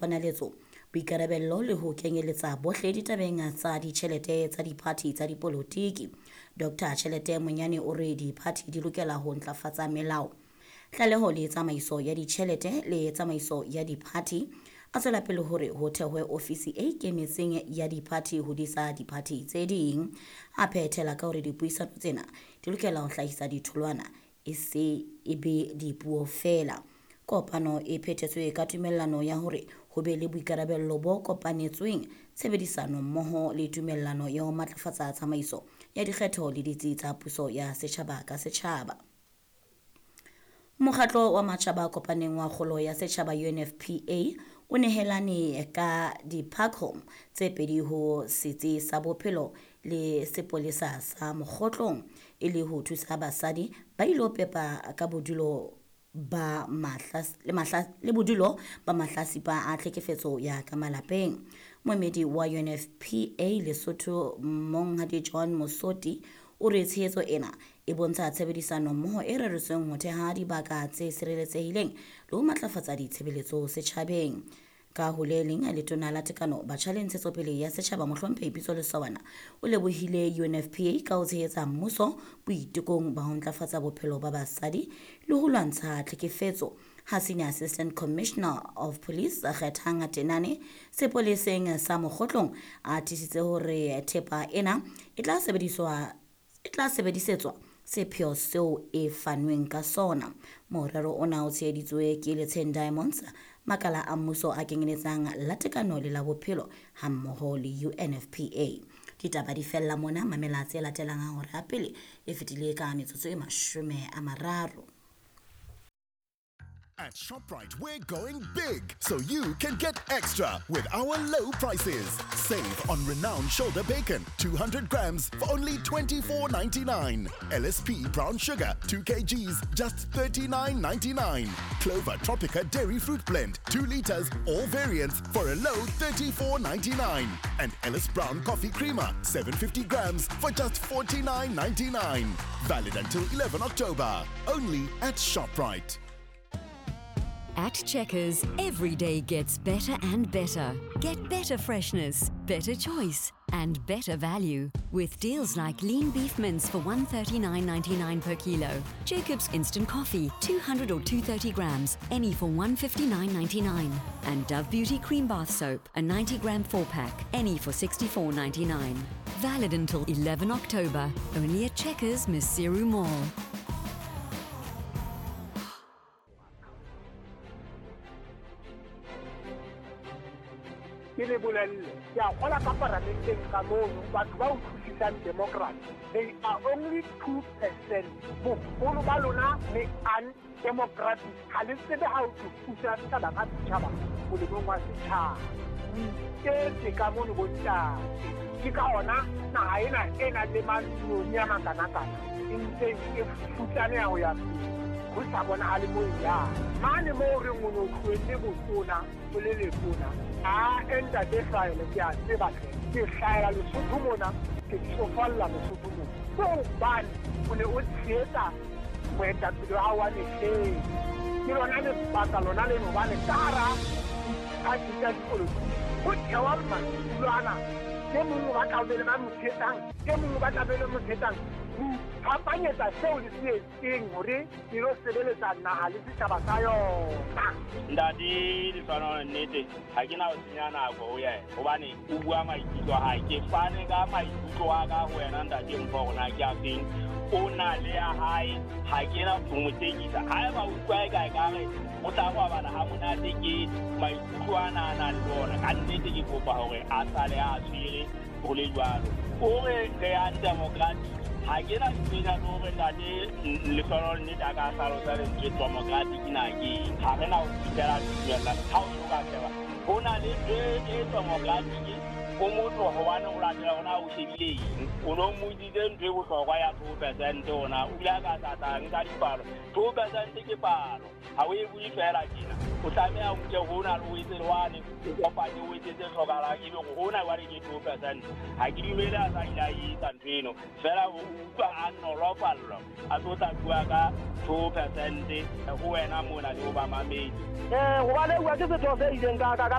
ponaletso, boikarabello le ho kenyeletsa bohle ditabeng tsa ditjhelete tsa diphathi tsa dipolotiki. Dr Tjhelete Monyane o re diphathi di lokela ho ntlafatsa melao, tlaleho le tsamaiso ya ditjhelete le tsamaiso ya diphathi. A tswela pele hore ho thehwe ofisi e ikemetseng ya diphathi ho disa diphathi tse ding. A phethela ka hore dipuisano tsena di lokela ho hlahisa ditholwana, e se e be dipuo feela. Kopano e phethetswe ka tumellano ya hore ho be le boikarabello bo kopanetsweng, tshebedisano mmoho le tumellano ya ho matlafatsa tsamaiso ya dikgetho le ditsi tsa puso ya setjhaba ka setjhaba. Mokgatlo wa Matjhaba a Kopaneng wa Kgolo ya Setjhaba UNFPA o nehelane ka di-park tse pedi ho Setsi sa Bophelo le Sepolesa sa Mokgotlong e le ho thusa basadi ba ilo pepa ka bodulo ba mahla le mahla le bodulo ba mahlasipa a tlhekefetso ya ka malapeng. Moemedi wa UNFPA Lesotho, Monghadi John Mosoti, o re tshehetso ena e bontsha tshebedisano mmoho e reretsweng ho theha dibaka tse sireletsehileng le ho matlafatsa ditshebeletso setjhabeng. Ka ho le leng, letona la Tekano, Batjha le Ntshetsopele ya Setjhaba, Mohlomphehi Pitso Lesawana, o lebohile UNFPA ka ho tshehetsa mmuso boitekong ba ho ntlafatsa bophelo ba basadi le ho lwantsha tlhekefetso. Ha Senior Assistant Commissioner of Police Kgethang Tenane sepoleseng sa Mokgotlong a tiisitse hore thepa ena e tla sebediswa e tla sebedisetswa sepheo seo e fanweng ka sona. Morero ona o tsheheditswe ke Letsheng Diamonds, makala a mmuso a kenyeletsang la Tekano le la Bophelo hammoho le UNFPA. Ditaba di fella mona. Mamela tse latelang ha hora ya pele e fetile ka metsotso e 30. At ShopRite, we're going big so you can get extra with our low prices. Save on renowned shoulder bacon, 200 grams for only $24.99. LSP brown sugar, 2 kgs, just $39.99. Clover Tropica dairy fruit blend, 2 liters, all variants for a low $34.99. And Ellis Brown coffee creamer, 750 grams for just $49.99. Valid until 11 October. Only at ShopRite. At Checkers, every day gets better and better. Get better freshness, better choice, and better value. With deals like lean beef mince for $139.99 per kilo, Jacob's instant coffee, 200 or 230 grams, any for $159.99, and Dove Beauty cream bath soap, a 90 gram 4-pack, any for $64.99. Valid until 11 October, only at Checkers Maseru Mall. Ke le bolelle, ke a kgola ka paramenteng ka mono batho ba utlwisisang democracy, they are only 2%. Boholo ba lona le undemocratic, ha le tsebe ha o thusa setjhaba ka setjhaba molemong wa setjhaba. O iketse ka mono bontate, ke ka ona naha ena e nang le mantsione a makanakana e ntseng e futsaneha ho ya pele, ho sa bonahale moo e yang. Mane moo re o no tlohelle botona o le letona, a ntate hlahele, ke a tseba hle, ke hlahela Lesotho mona, ke tsofalla Lesotho mona. Ke hobane o ne o tshehetsa moetapele wa hao wa mehleng. Ke lona lebaka lona leno hobane ka hara diphathi tsa dipolotiki ho thewa madulo ana, e mong o batla ho be le ba mo tshehetsang, e mong o batla be le mo tshehetsang. Ho iphapanyetsa seo le se etseng hore e lo sebeletsa naha le setjhaba sa yona. Ntate Lehlohonolo, nnete ha ke na ho senya nako ho yena hobane o bua maikutlo a hae. Ke fane ka maikutlo a ka ho wena ntate Mpho hore na ke a feng, o na le ya hae, ha ke na ho mo tekisa. Haeba o utlwa eka ekare o tla robala ha monate ke maikutlo ana a nang le ona, ka nnete ke kopa hore a sale a tshwere ho le jwalo. O re re undemocratic, ha ke na tsena le hore ntate Lehlohonolo nnete a ka hlalosa lentswe democratic na ke eng. Ha re na ho fihlela tumellano ha o so ka sheba ho na le ntho e democratic o motho hobane o latela hona o shebile eng. O no mmotsitse ntho e bohlokwa ya 2% ona, o ile a ka tlatla nka dipalo. 2% ke palo, ha o e bue fela tjena. O tlameha o nke hona le o etse le wane, o kopanye o etse tse hlokahalang, ebe hore hona jwale ke 2%. Ha ke dumele a sa ile a etsa ntho eno, fela o utlwa a nolofallwa a tlo tla bua ka 2% ho wena mona le ho bamamedi. Hobane bua ke setho se ileng ka ka